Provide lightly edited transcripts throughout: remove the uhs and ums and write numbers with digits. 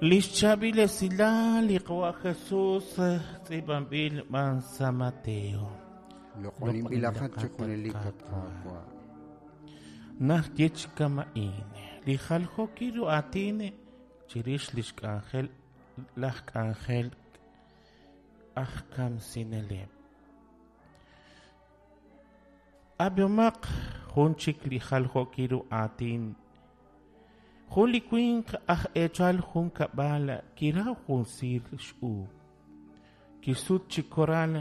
Lix chaab'il esilal li Qawa' Jesus tz'iib'anb'il b'an sa' Mateo. Loq'oninb'ilaqat chi junelik, at Qaawa'. Naxye chi kama'in li jaljookil ru aatin chirix lix k'anjel laj k'anjel aj kamsineleb'. Ab'ihomaq jun chik li jaljookil ru aatin. Jun li winq aj eechal jun kab'al kiraw jun siir x'uub'. Kixsut chi koral,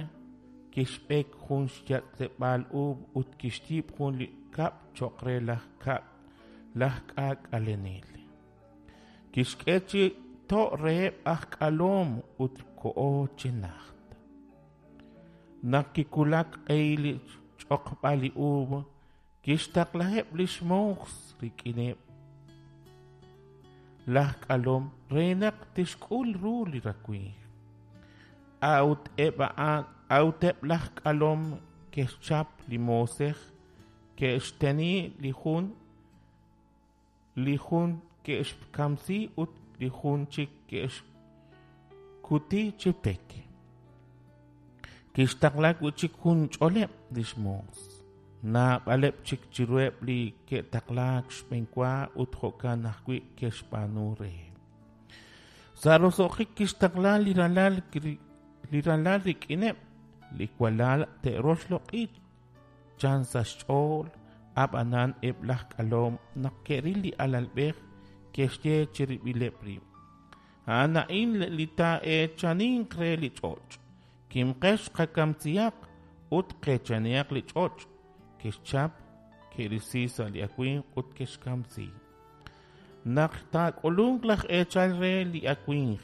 kixb'ek jun xyatz'leb'aal uub' ut kixyiib' jun li kab' cho'q re laj kab' laj k'aak'alenel. Kixk'e chi to' reheb' aj k'alom ut koho chi najt. Naq kiwulak q'ehil li xch'oqb'al li uub', Kixtaqlaheb' li xmoos rik'ineb' laj k'alom re naq tixk'ul ru li rawimq. A'ut eb' a'an, a'ut eb' laj k'alom ke'xchap li moosej, ke'xteni li jun, li jun ke'xkamsi ut li jun chik ke'xkuti chi pek. Kixtaqla wi' chik jun ch'oleb' li xmoos. Naab'aleb' chik chiruheb' li ke'taqlaak xb'enwa ut jo'kan ajwi' ke'xb'aanu reheb'. Sa' roso'jik kixtaqla li ralal li ralal rik'ineb' li walal te'roxloq'i chan sa' xch'ool, ab'anan eb' laj k'alom naq ke'ril li alalb'ej ke'xye chirib'ileb' rib', A'an a'in li taa'eechaninq re li ch'och'. Kimqex qakamsihaq ut qeechanihaq li ch'och'. Ke'xchap, ke'risi sa' li awimq ut ke'xkamsi. Naq taak'ulunq laj eechal re li awimq,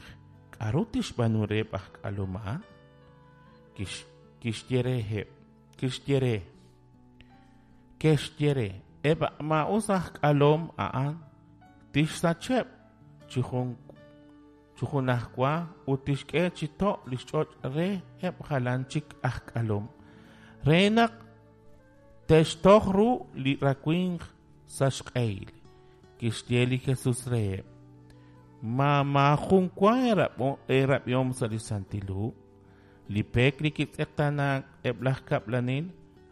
k'aru tixb'aanu reheb' aj k'alom a'an? Kixye reheb', kixye re, ke'xye re, eb' maa'us aj k'alom a'an tixsacheb' chi jun chi junajwa ut tixk'e chi to' li xch'och' reheb' jalan chik aj k'alom re naq te'xtoj ru li rawimq sa' xq'ehil. Kixye li Jesus reheb', Ma maajun wa eerab'ihom sa' li Santil Hu? Li pek li kitz'eqtaanaak eb' laj kab'lanel,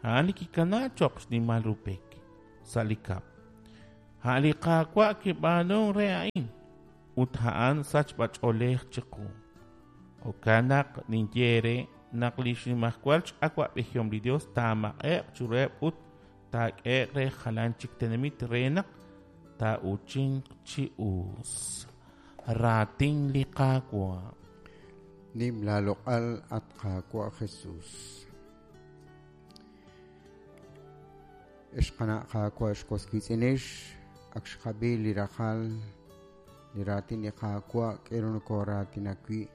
a'an li kikanaak cho'q xnimal ru pek sa' li kab'l. A' li Qaawa' kib'aanunk re a'in, ut a'an sachb'ach'oolej chiqu. Jo'kan naq ninye eere naq li xnimajwal x'awa'b'ejihom li Yos taamaq'e'q chiruheb' ut taak'ehe'q re jalan chik tenamit re naq taa'uuchinq chi us. Raatin li Qaawa'. Nim laaloq'al, at Qaawa' Jesus. Ex qana' Qaawa', ex was wiitz'inex, ak xqab'i li raqal li raatin li Qaawa' k'eru nokoraatinak wi'.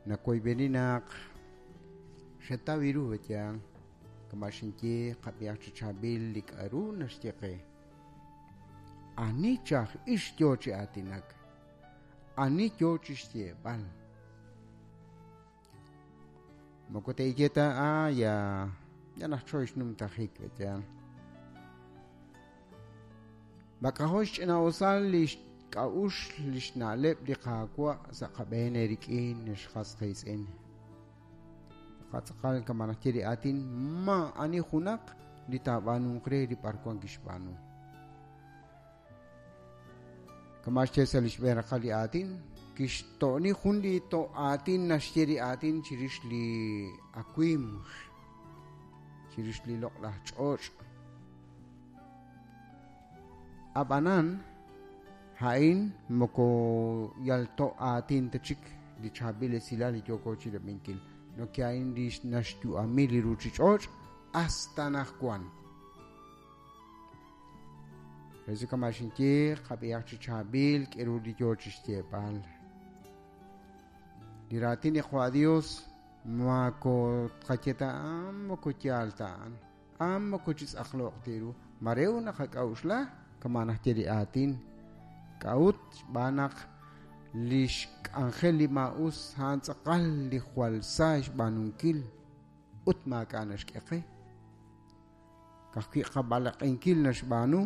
Nawoyb'eni naq xetaw ru yaal kama' xinye qab'ihaq chi chaab'il li k'a'ru naxye qe. Ani chaj ix yoo chi aatinak? Ani yoo chi xyeeb'al? Moko teeye ta ah ya ya najchoy xnumtajik yaal. Mak'ajo' xch'ina'usal li xk'a'uxl li xna'leb' li Qaawa' sa' qab'een eerik'in, ex qas qiitz'in. Qatz'aqal kama' naxye li aatin, maa'ani junaq li taab'aanunq re li b'arwan kixb'aanu. Kama' xye sa' li xb'een raqal li aatin, kixto'ni jun li to' aatin naxye li aatin chirix li awimq, chirix li loq'laj ch'och'. Ab'anan, a'in moko yal to' aatin ta chik li chaab'il esilal li yooko chirab'inkil. Noke a'in li naxyu'ami li ruuchich'och' hasta anaqwan. Rezi kama' xinye, qab'ihaq chi chaab'il k'eru li yoo chi xyeeb'al. Li raatin li Qwa' Dios mako tqaye ta a'an, moko yaal ta a'an, a'an moko chi tz'aqlo'q ta ru. Mare ut naqak'a'uxla kama' naxye li aatin. K'a'ut? Xb'aan naq li xk'anjel li maa'us a'an tz'aqal li jwal sa xb'aanunkil ut maak'a' naxk'e qe. Ka'ajwi' qab'alaq'inkil naxb'aanu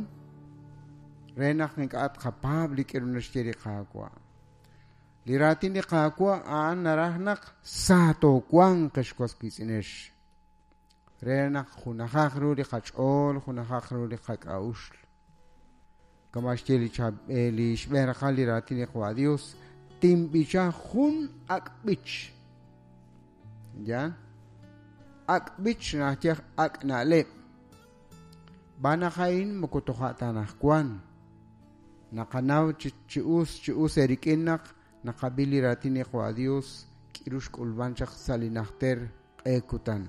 re naq ink'a' tqapaab' li k'aru naxye li Qaawa'. Li raatin li Qaawa' a'an naraj naq sa toowanq ex was wiitz'inex. Re naq junajaq ru li qach'ool, junajaq ru li qak'a'uxl. Kama xye li li xb'een raqal li raatin li Qaawa' Dios, tinb'icha jun ak' b'ich. Ya? Ak' b'ich naxye ak' na'leb'. B'an a'in moko toja' ta anaqwan. Naqanaw chi us erik'in naq naqab'i li raatin li Qaawa' Dios k'iru xk'ulb'an chaq sa' li najter q'e kutan.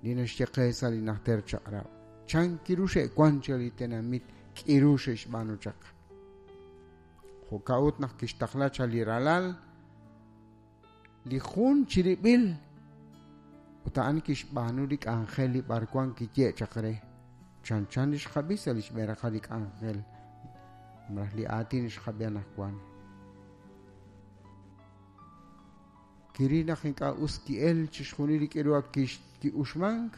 Li naxye qe sa' li najter chaq'rab'. Chan kiru xe'wan chaq li tenamit k'iru xe'xb'aanu chaq. Jo'ka'ut naq kixtaqla chaq li ralal li jun chirib'il ut a'an kixb'aanu li k'anjel li b'arwan kiye' chaq re. Chan li xqab'i sa' li xb'een raqal li k'anjel malaj li aatin xqab'i anaqwan. Kiril naq ink'a' us ki'el chixjunil li k'iru ak ki'uxmank,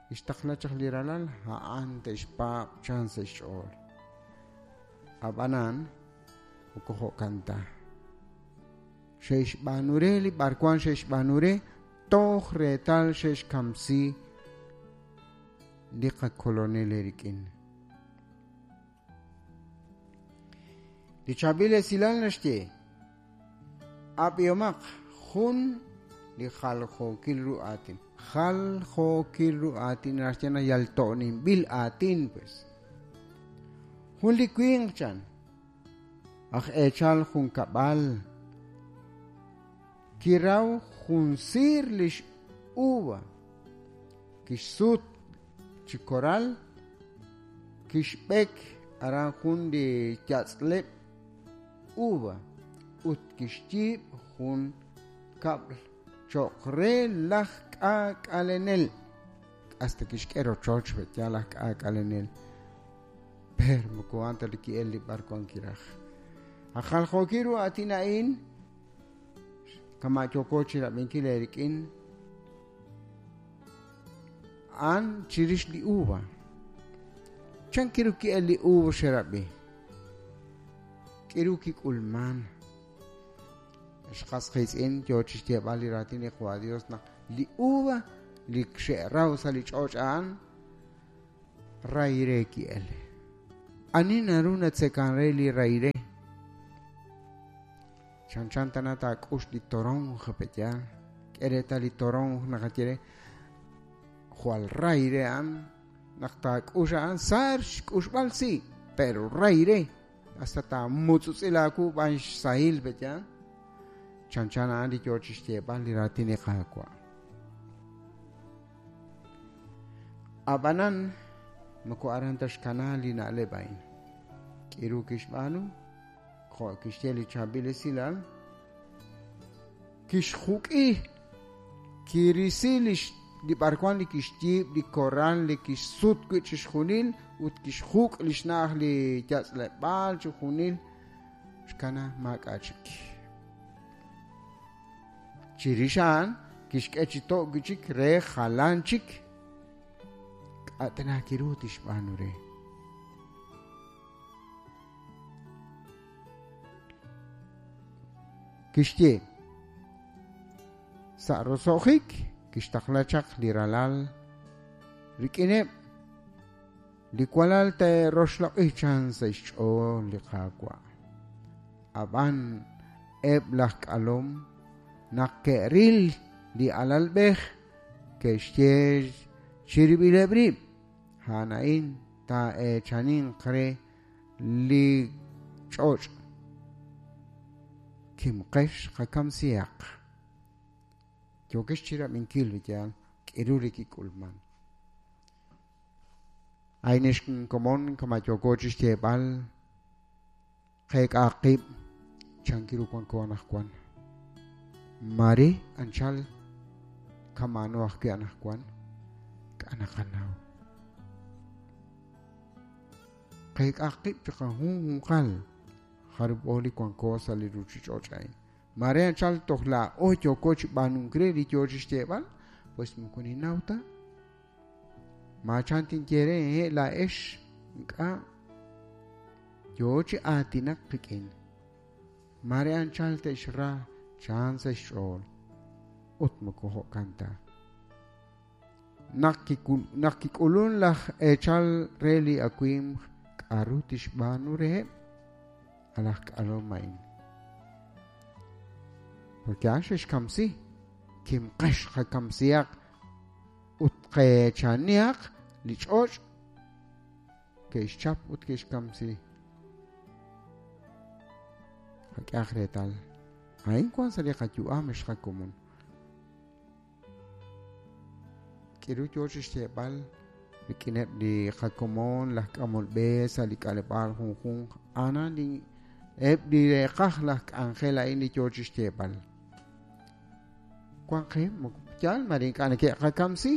kixtaqla chaq li ralal a'an te'xpaab' chan sa' xch'ool. Ab'anan moko jo'kan ta. Xe'xb'aanu re li b'arwan xe'xb'aanu re toj reetal xe'xkamsi li qakolonel erik'in. Li chaab'il esilal naxye ab'ihomaq jun li jaljookil ru aatin. Jaljookil ru aatin naxye na yal to'ninb'il aatin pues. Jun li winq chan aj eechal jun kab'al kiraw jun siir lix uva kixsut chi koral kixb'ek aran jun li yatz'leb' uva ut kixyiib' jun kab'l cho'q re laj k'aak'alenel. Hasta kixk'e rochoch ya laj k'aak'alenel. Pero moko a'an ta li ki'el li b'arwan kiraj. Aj jaljookil ru aatin a'in kama' yooko chirab'inkil eerik'in a'an chirix li uva. Chan kiru ki'el li uva xerab'i. K'iru kik'ulman. Xqas qiitz'in yoo chixyeeb'al li raatin li Qaawa' Dios naq li uva li xe'raw sa' li ch'och' a'an rayre ki'el. Ani naru natzekan re li rayre. Chan chan tana taak'ux li toronj pe'yaal. K'e reetal li toronj naqaye re jwal rayre a'an naq taak'ux a'an sar xk'uxb'al si, pero rayre. Hasta taamutz'utz'il aawu b'an xsahil pe'yaal. Chan chan a'an li yoo chixyeeb'al li raatin li Qaawa'. Ab'anan moko aran ta xkana li na'leb' a'in. K'iru kixb'aanu jo' kixye li chaab'il esilal kixjuk'i kirisi li b'arwan li kixyiib' li korral li kixsut wi' chixjunil ut kixjuk' li xna'aj li yatz'leb'aal chixjunil xkana maak'a' chik. Chirix a'an kixk'e chi to' wi' chik re jalan chik k'a' tana kiru tixb'aanu re. Kixye sa' roso'jik kixtaqla chaq li ralal rik'ineb' li walal te'roxloq'i chan sa' xch'ool li Qaawa'. Ab'an eb' laj k'alom naq ke'ril li alalb'ej ke'xye chirib'ileb' rib' a'an a'in taa'eechaninq re li ch'och'. Kimqex qakamsihaq. Yookex chirab'inkil yaal k'iru li kik'ulman. A'in komon kama yooko chixyeeb'al qeek'aq qib' chan kiru wanko anaqwan. Mare anchal kamano ajwi' anaqwan k'anaqanaw. Qeek'aq qib' chiqajunjunqal jarub'o li wanko sa' li ruuchich'och' a'in. Mare anchal toj laa'o yooko chi b'aanunk re li yoo chixyeeb'al, pues moko ninnaw ta. Maachan tinye re laa'ex ink'a' yoo chi aatinak qik'in. Mare anchal te'xra chan sa' xch'ool. Ut moko jo'kan ta. Naq kik'ulun laj eechal re li awimq k'aru tixb'aanu reheb' alaj k'alom a'in. Porque a'an xexkamsi, kimqex qakamsihaq ut qeechanihaq li ch'och' ke'xchap ut ke'xkamsi. Qak'ehaq reetal. A'in wan sa' li qayu'am ex qakomon. K'iru yoo chixyeeb'al rik'ineb' li qakomon laj k'amol b'e sa' li k'aleb'aal junjunq a'anan li eb' li reeqaj laj k'anjel a'in li yoo chixyeeb'al. Wan qe moko yaal mare ink'a' neke'qakamsi,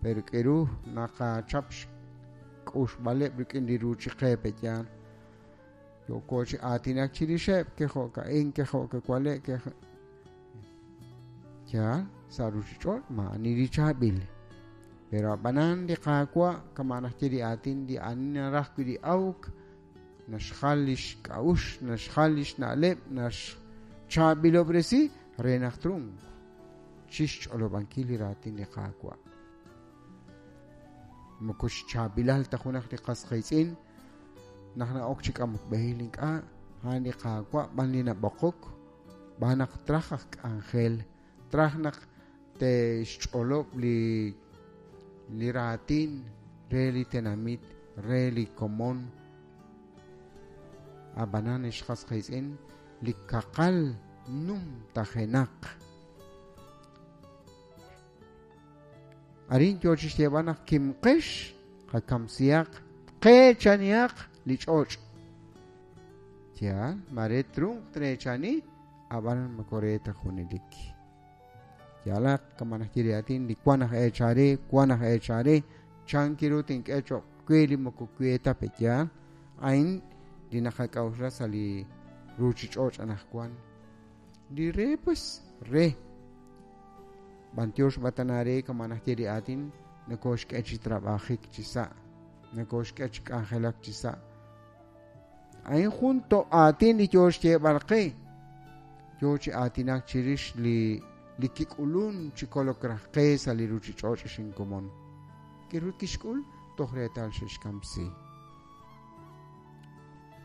pero k'iru naqachap xk'uxb'aleb' rik'in li ruuchiqe pe'yaal. Yooko chi aatinak chirixeb' kejo'ka'in kejo'kawale' yaal sa' ruuchich'och' maa'ani li chaab'il. Pero ab'anan li Qaawa' kama' naxye li aatin li ani naraj wi' li awk naxjal lix k'a'uxl, naxjal lix na'leb', naxchaab'ilob'resi re naq trunq chixch'olob'ankil li raatin li Qaawa'. Moko xchaab'ilal ta junaq li qas qiitz'in naq na'ok chi k'amok b'ehil ink'a' a'an li Qaawa' b'an li nab'oqok b'an naq traj aj k'anjel, traj naq te'xch'olob' li raatin re li tenamit, re li komon. Ab'anan ex qas qiitz'in li kaqal numtajenaq. Arin yoo chixyeeb'al naq kimqex qakamsihaq qeechanihaq li ch'och'. Yaal, mare trunq treechani, ab'an moko re ta junelik. Yaalaq kama naxye li aatin li wan aj eechare, wan aj eechare, chan kiru tink'e cho'q we li moko we ta pe'yaal. A'in li naqak'a'uxla sa' li ruuchich'och' anaqwan. Li re pues re. B'antiox b'atana re kama naxye li aatin nokoxk'e chi trab'ajik chi sa', nokoxk'e chi k'anjelak chi sa'. A'in jun to' aatin li yoo xyeeb'al qe. Yoo chi aatinak chirix li kik'ulun chi kolok raj qe sa' li ruuchich'och' xinkomon. K'iru kixk'ul toj reetal xe'xkamsi.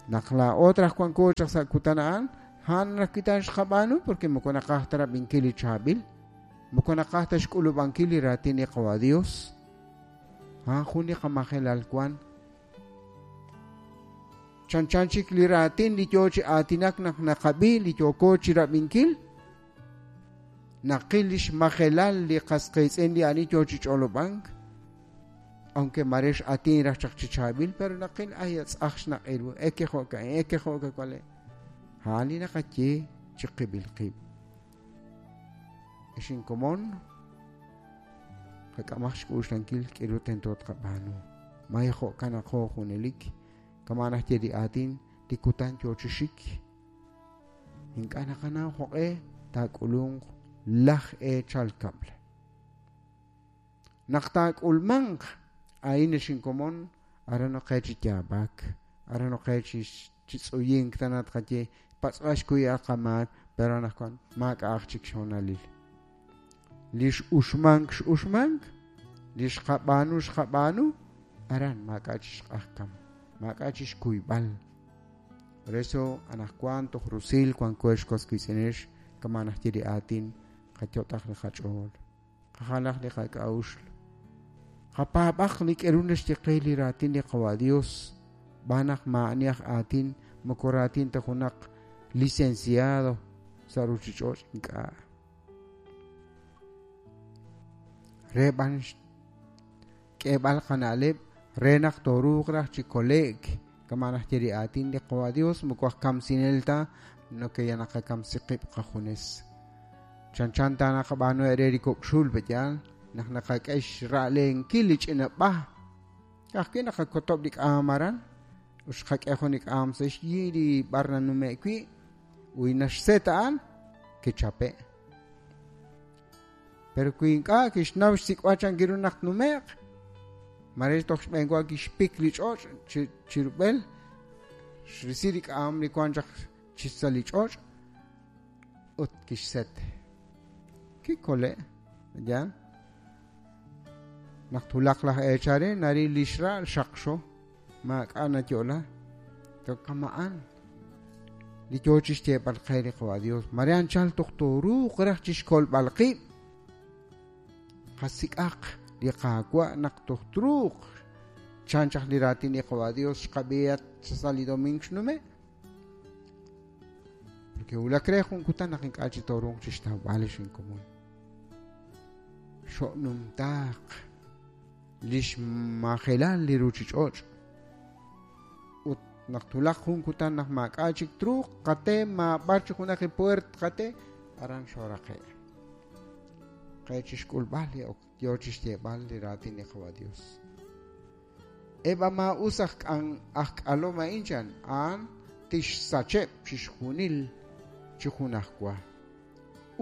Naq laa'o raj wanko chaq sa' kutan a'an, a'an raj kutan xqab'aanu porque moko naqaj ta rab'inkil li chaab'il, moko naqaj ta xk'ulub'ankil li raatin li Qawa Dios. A'an jun li qamajelal wan. Chanchan chik li raatin li yoo chi aatinak naq naqab'i li yooko chi rab'inkil, naqil lix majelal li qas qiitz'in li ani yoo chi ch'olob'ank, aunque mare x'atin raj chaq chi chaab'il, pero naqil ay atz'aj xnaq'iru, eke jo'ka'in, eke jo'kawale. A'an li naqaye chi qib'il qib'. Ex inkomon, qak'amaj xk'uxlankil k'iru tento tqab'aanu. May jo'kan aqo junelik, kama naxye li aatin li kutan yoo chi xik. Ink'a' naqanaw jo'q'e taak'ulunq laj eechal kab'l. Naq taak'ulmanq a'in ex inkomon, aran noqe chi yaab'ak, aran noqe chi tz'uyink tanat qaye, patz'b'al xkuy qamaak, pero anaqwan maak'a'aj chik xhoonalil. Li x'uxmank x'uxmank, li xqab'aanu xqab'aanu, aran maak'a' chi xq'ajkam, maak'a' chi xkuyb'al. Por eso anaqwan toj rusil wanko ex was wiitz'inex kama naxye li aatin qayot'aq li qach'ool, qajalaq li qak'a'uxl. Qapaab'aq li k'eru naxye qe li raatin li Qawa Dios, b'an naq maa'ani aj aatin moko raatin ta junaq licenciado sa' ruuchich'och' ink'a'. Re b'an k'eeb'al qana'leb' re naq tooruuq raj chi kole'k kama naxye li aatin li Qawa Dios moko aj kamsinel ta noke ya naqakamsi qib' qajunes. Chanchan ta naqab'aanu re li kok' xul pe'yaal naq naqak'e xra'lenkil li ch'ina b'aj. Ka'ajwi' naqakotob' li k'aam aran ut xqak'e jun li k'aam sa' xyi li b'ar nanume' wi' uy naxset a'an kichape'. Pero wi ink'a' kixnaw xsik'b'al chan kiru naq tnume'q, mare toj xb'eenwa kixpik li ch'och' chi rub'el, xrisi li k'aam li wan chaq chi sa' li ch'och', Ut kixset. Kikole', ya. Naq twulaq laj eechal re naril li xra'al xaqxo, maak'a' nayo'la. Toj kama'an li yoo chi xyeeb'al qe li Qawa' Dios, mare anchal toj tooruuq raj chi xkolb'al qib'. Qasik'aq li Qaawa' naq toj truuq, chan chaq li raatin li Qawa' Dios xqab'i sa' li doming xnume'. Porque wulak re jun kutan naq ink'a' chi tooruuq chi xtawb'al li xinkomon. Xo'numtaaq li xmajelal li ruuchich'och' ut naq twulaq jun kutan naq maak'a' chik truuq qate maab'ar chi junaq li puert qate aran xooraqe' qe chi xk'ulb'al li ok yoo chi xyeeb'al li raatin li Qawa' Dios. Eb' a maa'us aj aj k'alom a'in chan a'an tixsacheb' chixjunil chi junajwa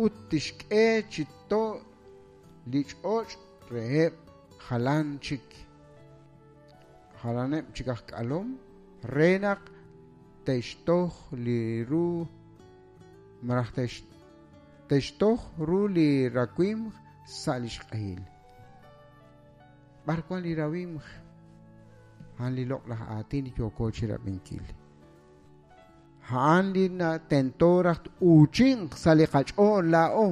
ut tixk'e chi to' li ch'och' reheb' jalan chik jalaneb' chik aj k'alom re naq te'xtoj li ru malaj te'xtoj ru li rawimq sa' li xq'ehil. B'ar wan li rawimq? A'an li loq'laj aatin li yooko chirab'inkil. A'an li tento raj t-uuchinq sa' li qach'ool laa'o.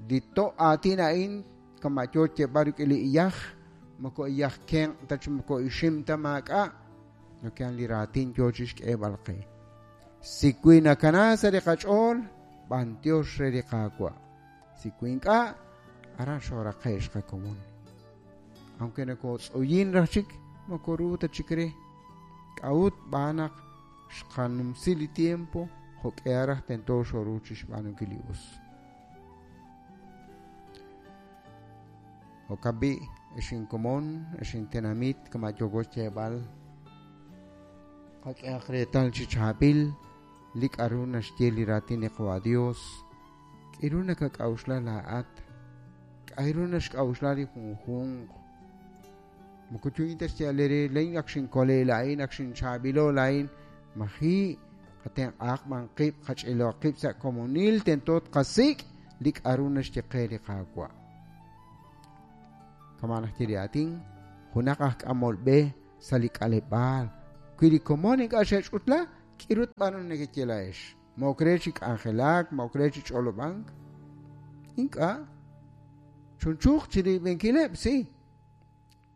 Li to' aatin a'in kama' yoo xyeeb'al rik'in li iyaj, moko iyaj kenq' ta chi moko ixim ta maak'a', noke'an li raatin yoo chixk'eeb'al qe. Si wi nakana sa' li qach'ool, b'antiox re li Qaawa'. Si wi ink'a', aran xooraqe' xqakomon. Aunque nokotz'uyin raj chik, moko ru ta chik re. K'a'ut b'aan naq xqanumsi li tiempo jo'k'ihal raj tento xooru chixb'aanunkil li us. Jo'kan b'i', ex inkomon, ex intenamit, kama' yooko xyeeb'al, qak'ehaq reetal chi chaab'il li k'a'ru naxye li raatin li Qawa' Dios. K'a'ru nakak'a'uxla laa'at? K'a'ru naxk'a'uxla li junjunq? Moko yu'in ta xyeeb'al eere, laa'in ak xinkole' laa'in, ak xinchaab'ilo' laa'in. Maji' qatenq'ahaq b'an qib', qach'ilo'aq qib' sa' komonil, tento tqasik' li k'a'ru naxye qe li Qaawa'. Kama' naxye li aatin, junaq aj k'amol b'e sa' li k'aleb'aal. Wi li komon ink'a' xe'ch'utla, k'iru tb'aanu nekeye laa'ex? Ma ok re chi k'anjelak, ma ok re chi ch'olob'ank? Ink'a'. Chunchuuq chi riib'inkileb', si.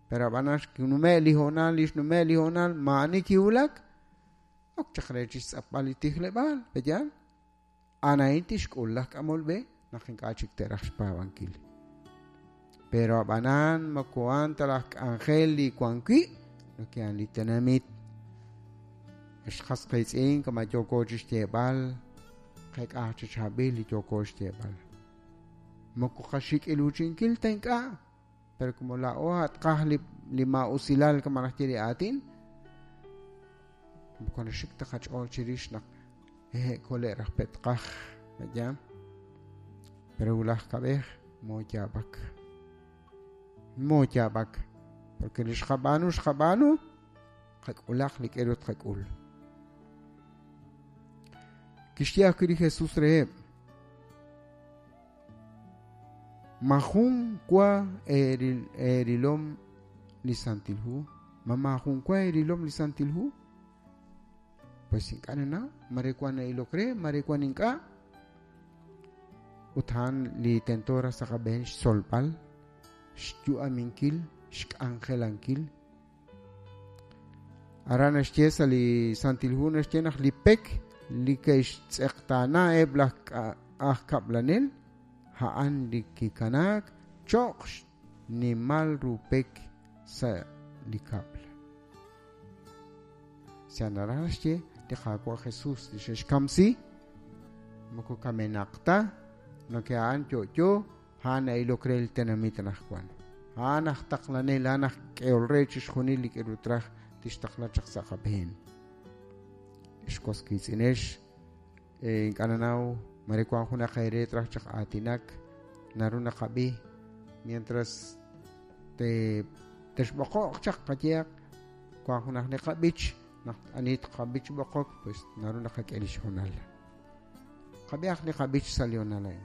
Pero ab'anan xnume' li hoonal, li xnume' li hoonal, maa'ani kiwulak, ok chaq re chi xtz'apb'al li tijleb'aal, pe'yaal? A'an a'in tixk'ul laj k'amol b'e naq ink'a' chik te'raj xpaab'ankil. Pero ab'anan moko a'an ta laj k'anjel li wan wi', noke'an li tenamit. Ex qas qiitz'in, kama' yooko chi xyeeb'al, qek'aj chi chaab'il li yooko xyeeb'al. Moko qaxik'iluuchinkil ta ink'a', pero como laa'o tqaj li, li maa'usilal kama' naxye li aatin, moko naxik ta qach'ool chirix naq hehe' kole' raj pe' tqaj, ya. Pero wulaj kab'ej mooyaab'ak. Mooyaab'ak. Porque li xqab'aanu xqab'aanu, qak'ulaq li k'eru tqak'ul. Kixye ajwi' li Jesús reheb', Ma jun wa eerilom li Santil Hu? Ma maajun wa eerilom li Santil Hu? Pues ink'a' nanaw, mare wan na'ilok re, mare wan ink'a'. Ut a'an li tento raj sa' qab'een xtzolb'al, xyu'aminkil, xk'anjelankil. Aran naxye sa' li Santil Hu naxye naq li pek li ke'xtz'eqtaana eb' laj aj kab'lanel a'an li kikanaak cho'q xnimal ru pek sa' li kab'l. Sa' naraj naxye li Qaawa' Jesus li xe'xkamsi moko kamenaq ta, noke a'an yo'yo A'an na'ilok re li tenamit anaqwan. A'an aj taqlanel, a'an aj k'ehol re chixjunil li k'aru traj tixtaqla chaq sa' qab'een. Ex was wiitz'inex, ink'a' nanaw mare wank junaq eere traj chaq aatinak, naru naqab'i mientras te texb'oqo'q chaq qayehaq wank junaq li qab'ich naq ani tqab'ich b'oqok pues naru naqak'e li xhoonal. Qab'ihaq li qab'ich sa' li honal a'in.